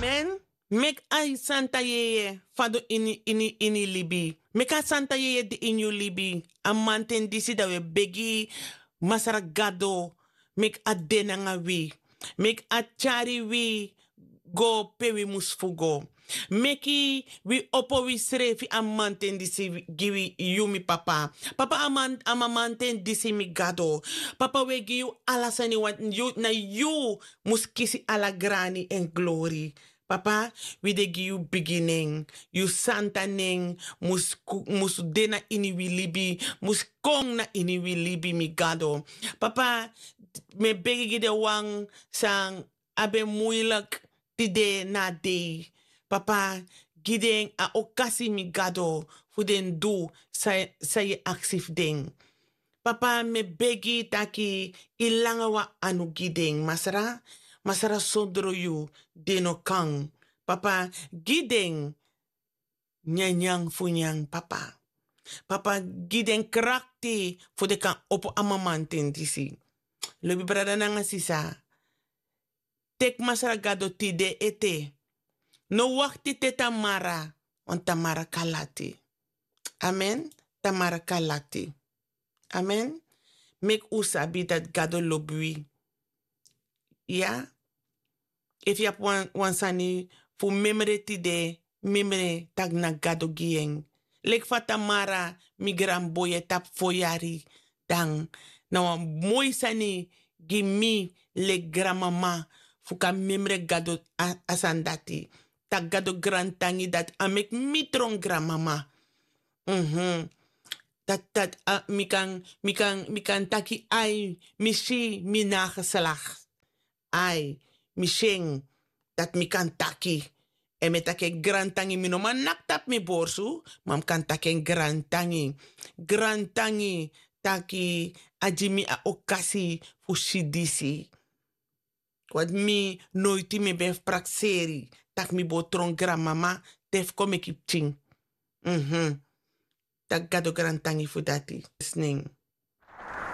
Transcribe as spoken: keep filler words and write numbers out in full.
Amen. Meki a santa yeye fadon ini ini ini libi. Meki a santa yeye de ini yu libi. A manten disi dan wi e begi masra gado, meki a de nanga wi. Meki a tyari wi go pe wi mus fu go. Meki wi opo wisrefi a manten disi gi wi, yu mi papa. Papa, a man a mamanten disi mi gado. Papa, wi e gi yu ala sani, want yu na yu mus kisi ala grani èn glori. Papa, wi de gi yu bigi nen. Yu santa nen mus de na ini wi libi, mus kon na ini wi libi, mi gado. Papa, mi e begi gi den wan san abi en muilik tide na a dei. Papa, gi den a okasi, mi gado, fu den du san yu e aksi fu den. Papa, mi e begi taki yu langa wan anu gi den, masra. Masra, sondro yu den no kan. Papa, gi den nyanyan fu nyan, papa. Papa, gi den krakti fu den kan opo a mamanten disi. Lobi brada nanga sisa, teki masra gado tide ete. No wakti te tamara, want tamara kan lati. Amen. Tamara kan lati. Amen. Meki un sabi dati gado lobi wi. Ya. Efu yu abi wan sani fu memre tide, memre tak' na gado gi en. Leki fa tamara, mi granboi e tapu fo yari, dan na wan moi sani gi mi leki granmama fu kan memre gado. A sani dati, tak' gado grantangi dati a meki mi tron granmama. Dati dati mi kan mi kan mi kan taki ai, mi si mi nageslak. Ai, mi si en. Dati mi kan taki. Èn mi e taki en grantangi, mi no man naki tapu mi borsu, ma mi kan taki en grantangi. Grantangi taki a gi mi a okasi fu si disi. Wati mi noiti mi ben fu prakseri tak' mi bo tron granmama te fu kon meki pikin. Tak' gado grantangi fu dati. Snen.